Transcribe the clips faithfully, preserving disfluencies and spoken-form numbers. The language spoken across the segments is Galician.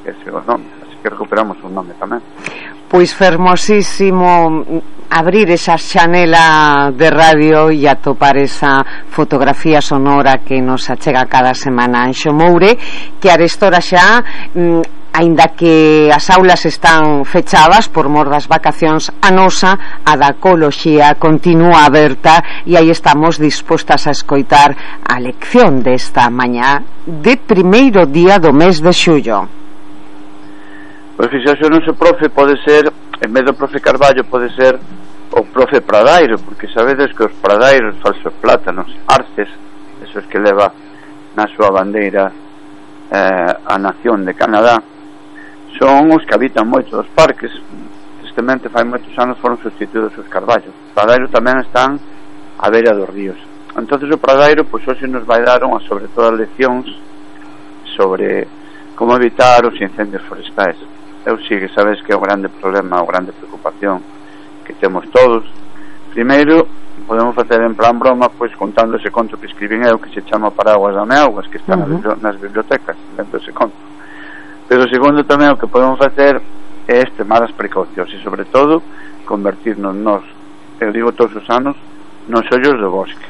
ese é o nome, así que recuperamos un nome tamén. Pois fermosísimo abrir esa xanela de radio e atopar esa fotografía sonora que nos achega cada semana Anxo Moure, que arestora xa mm, aínda que as aulas están fechadas por mor das vacacións, a nosa, a da ecoloxía, continúa aberta e aí estamos dispostas a escoitar a lección desta mañá de primeiro día do mes de xullo. Pois fixaxe, o noso profe pode ser, en vez do profe Carballo, pode ser o profe Pradairo, porque sabedes que os pradairos, falsos plátanos, arces, esos que leva na súa bandeira eh, a nación de Canadá, son os que habitan moito dos parques. Tristemente fai moitos anos foron sustituídos os carballos. Os pradairos tamén están á beira dos ríos. Entonces o pradairo, pois hoxe nos vai dar unha, sobre todas leccións sobre como evitar os incendios forestais. Eu sí que sabes que é o grande problema, a grande preocupación que temos todos. Primeiro, podemos facer en plan broma, pois contando ese conto que escribín eu, que se chama Paraguas da Meaugas, que está uh-huh. nas, nas bibliotecas, dentro dese conto. Pero segundo tamén o que podemos facer é extremar as precaucións e sobre todo convertirnos nos, eu digo todos os anos, nos ollos do bosque.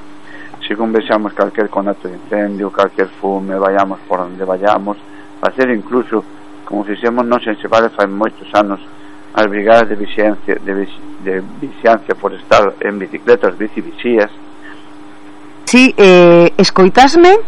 Según vexamos calquer conato de incendio, calquer fume, vayamos por onde vayamos, facer incluso como fixemos nos en Sebade fai moitos anos as brigadas de vixiancia de, de vixiancia forestal en bicicletas, bicivixías. Si, sí, eh, escoitasme?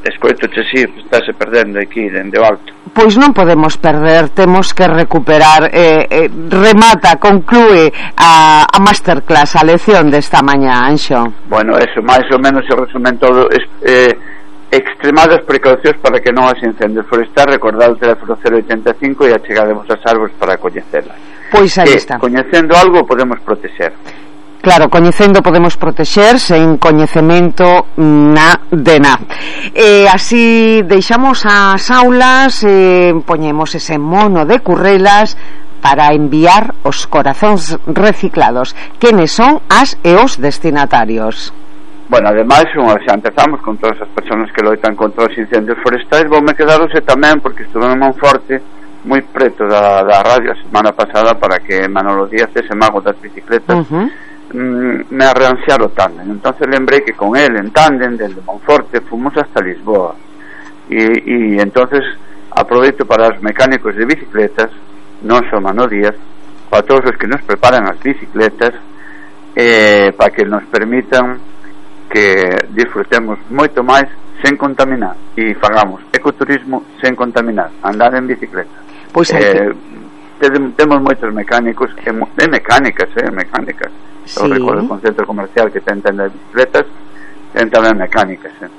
Escoitoche, si, sí, estáse perdendo aquí dende o alto. Pois non podemos perder, temos que recuperar. eh, eh, remata, conclúe a, a masterclass, a lección desta mañá, Anxo. Bueno, eso, máis ou menos se resumen todo. Es, eh, extremadas precaucións para que non haxe incendios forestais. Recordad o teléfono cero oitenta e cinco e achegademos as árbores para coñecelas. Pois aí que, está. Coñecendo algo podemos protexer. Claro, coñecendo podemos protexer, sen coñecemento na de na. E así deixamos as aulas, e poñemos ese mono de currelas para enviar os corazóns reciclados. Quenes son as e os destinatarios? Bueno, ademais, xa empezamos con todas as persoas que loitan contra os incendios forestais. Voume quedarose tamén, porque estuve en Monforte, moi preto da, da radio a semana pasada, para que Manolo Díaz, ese mago das bicicletas, uh-huh. mm, me arreanciara o tándem. Entonces lembrei que con él, en tándem, desde Monforte, fomos hasta Lisboa. E, e entonces aproveito para os mecánicos de bicicletas, non só Manolo Díaz, para todos os que nos preparan as bicicletas, eh, para que nos permitan que disfrutemos moito máis sen contaminar e fagamos ecoturismo sen contaminar, andar en bicicleta. Pois eh, temos moitos mecánicos e mecánicas, eh, mecánicas. Sí. Eu recordo con centro comercial que ten tendas de bicicletas, ten tamén mecánicas, eh.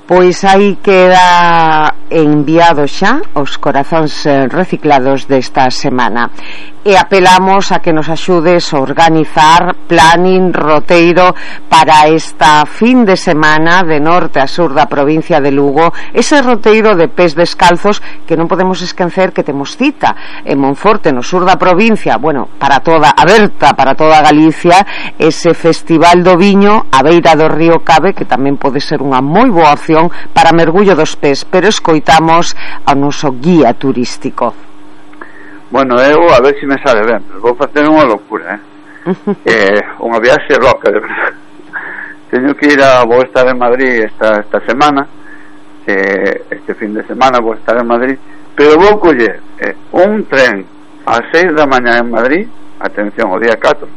Pois aí queda enviado xa os corazóns reciclados desta semana. E apelamos a que nos axudes a organizar planning, roteiro para esta fin de semana de norte a sur da provincia de Lugo, ese roteiro de pés descalzos que non podemos esquecer que temos cita en Monforte, no sur da provincia, bueno, para toda, aberta para toda Galicia, ese Festival do Viño a beira do río Cabe, que tamén pode ser unha moi boa opción para mergullo dos pés, pero escoitamos ao noso guía turístico. Bueno, eu a ver se me sale ben, pero vou facer unha locura, eh? eh unha viaxe loca, de verdade. Teño que ir a, vou estar en Madrid esta, esta semana, eh, este fin de semana vou estar en Madrid, pero vou coller eh, un tren ás seis da mañá en Madrid, atención, o día catro,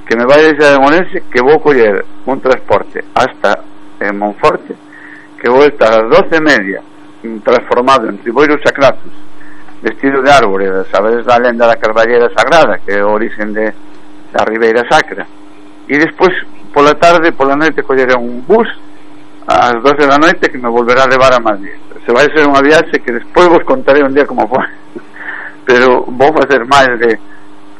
que me vai deixar en Orense, que vou coller un transporte hasta en Monforte, que vou estar ás doce e media transformado en Riboiro Sacratus, vestido de árbore, sabedes da lenda da Carballera Sagrada, que é o origen de, da Ribeira Sacra, e despois pola tarde, pola noite colleré un bus ás doce da noite que me volverá a levar a Madrid. Se vai ser unha viaxe que despois vos contaré un día como foi, pero vou facer máis de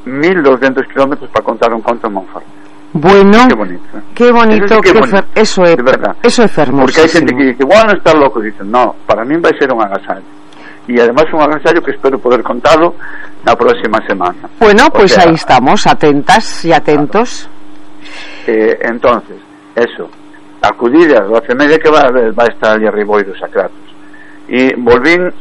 mil doscientos kilómetros para contar un conto en Monforte. Bueno, qué bonito, ¿eh? Qué bonito, eso, sí que que bonito. Fer, eso é, eso é fermosísimo. Porque hai xente que dice, bueno, está loco, dicen, no, para min vai ser un agasallo. E además un agasallo que espero poder contalo na próxima semana. Bueno, pois pues aí estamos, atentas e atentos. Claro. Eh, entonces, eso, acudir a doce e media que vai a ver, vai estar ali a Riboiro Sacratus. E volvín